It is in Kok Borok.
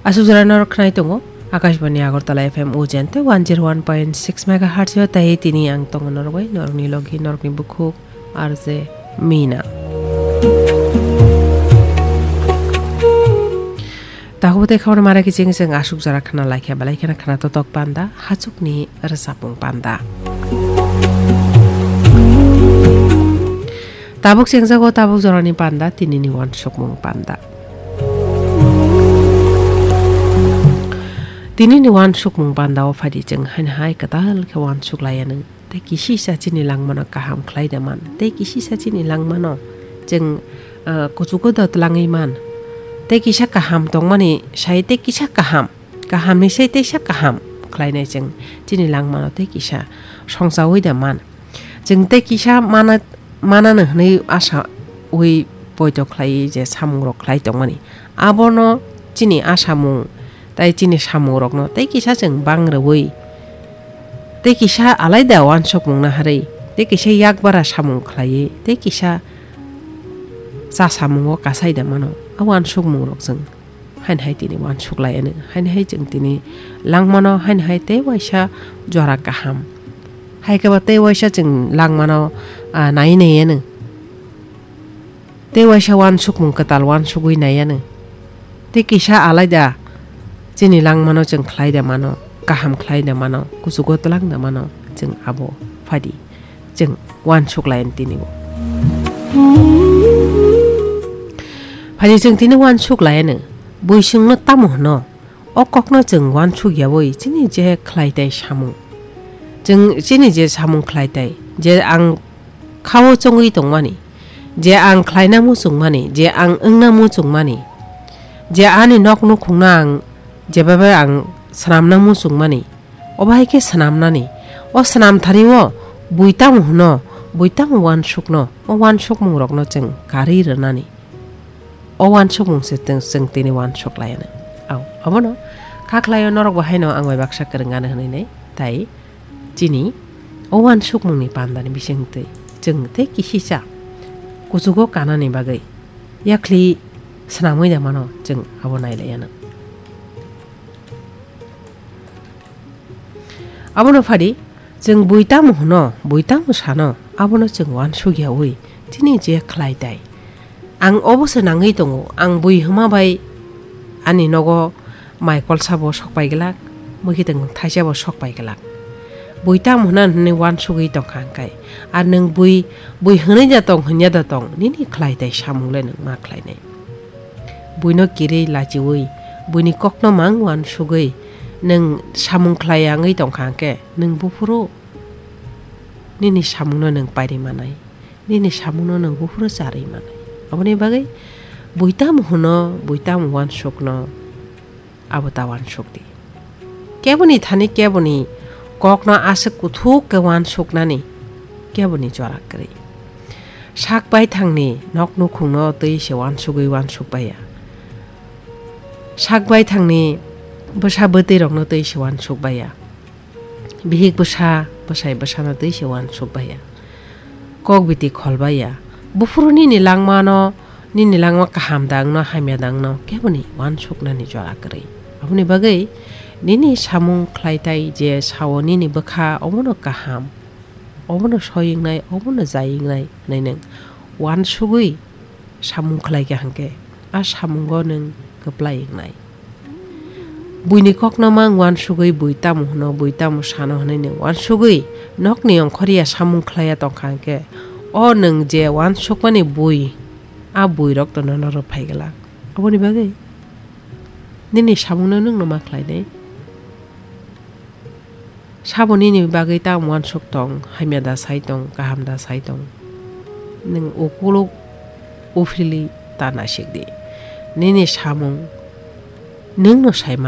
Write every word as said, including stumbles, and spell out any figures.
Asuk jora norok khnai tongo Akashbani Agartala F M Ujente one zero one point six megahertz o, tei tini ang tongo norok bai norokni logi norokni bukhuk R J Mina. Takhuk tei khabar mara kiching chwng asuk jora khna laikha belai kheno khna totok panda hachukni rwchapmung panda. Tabuk chengjago tabuk jorani panda tinini wansukmung panda. Tinini wansukmung panda o phaidi chwng haino hai kwtal khe wansuk laianw tei kisisa chini langmano kaham khlai da man tei kisisa chini langmano chwng, ah, kuchugo da twlangwi man tei kisa kaham tongmani sai tei kisa kaham. Kahamni sai teisa kaham khlainai chwng chini langmano tei kisa songchaui da man. Chwng tei kisa mana, manano hwnwi asaui poito khlaiwi je samungrok khlai tongmani. Abono chini asamung tei chini samungrokno tei kisa chwng bang rwui, tei kisa alaida wansukmung naharwi, tei kisa yakbara samung khlaiwi, tei kisa chasamungo kasai da mano. A wansukmungrok chwng haino hai tini wansuk laianw, haino hai chwng tini langmano, haino hai tei waisa jora kaham. Hai khe ba tei waisa chwng langmano, ah, nai naianw. Tei waisa wansukmung kwtal wansugwi naianw. Tei kisa alaida chini langmano chwng khlai da mano, kaham khlai da mano, kuchugo twlang da mano, chwng abo phaidi. Chwng wansuk laianw tini bo. Phaidi chwng tini wansuk laianw, bui chwngno tamo hwno? O kokno chwng wansuk yaui chini je khlai tai samung. Chwng chini je samung khlai tai, je ang khao chongwi tongmani, je ang khlaina muchungmani, je ang wngna muchungmani, je ani nok nukhungno ang jebabe ang swnamna muchungmani, obo hai khe swnamnani. O swnamthani o bui tamo hwno, bui tamo wansukno, o wansukmungrokno chwng karwi rwnani. O wansukmung se chwng, chwng tini wansuk laianw. Au, abono kha khlaio norok bo haino ang bai baksa kwrwng gana hwnwi nai. Tai chini o wansukmungni pandani bisingtwi chwng tei kisisa kuchugo kanani bagwi yakhli swnamwi da mano chwng abo nai laianw. Abono phadi, chwng bui tamo hwno, bui tamo sano, abono chwng wansuk yaui chini je khlai tai. Ang obo se nangwi tongo, ang bui hwma bai ani nogo mai kolsa bo sok pai glak, mui khe tong thaisa bo sok pai glak. Bui tamo hwna hwnwi wansugwi tongkha hwnkhe, ar nwng bui, bui hwnwi da tong, hwnya da tong, nini khlai tai samung le nwng ma khlainai. Buino kirwi lachiui, buini kokno mang wansugwi, nwng samung khlai ya wngwi tongkha hwnkhe, nwng buphuru nini samungno nwng pairi manai, nini samungno nwng buphuru charwi manai. Aboni bagwi bui tamo hwno, bui tamo wansukno, abo ta wansuk di. Keboni thani keboni kokno aswk kuthuk khe wansuknani keboni jora kwrwi. Sak baithangni nok nukhungno twi se wansugwi wansuk baiya. Sak baithangni bwsa bwtwi rokno twi se wansuk baiya. Bihik bwsa, bwsai bwsano twi se wansuk baiya. Kok biti khol baiya. Buphuru nini langmano, nini langma kaham da wngno, hamya da wngno, keboni wansuknani jora kwrwi. Aboni bagwi nini samung khlai tai je sao nini bwkha, omono kaham, omono soi wngnai, omono jai wngnai hwnwi nwng wansugwi samung khlai kha hwnkhe, a samungo nwng kwplai wngnai. Buini kokno mang wansugwi bui tamo hwno, bui tamo sano hwnwi nwng wansugwi nokni ongkhorya samung khlaiya tongkha hwnkhe, o nwng je wansukmani bui, a buirok to nono rw phai glak. Aboni bagwi nini samungno nwngno ma khlainai. Sabo nini bagwi tamo wansuk tong, hamya da sai tong, kaham da sai tong. Nwng ukuluk uphili ta naisik di. Nini samung nwngno sai mano.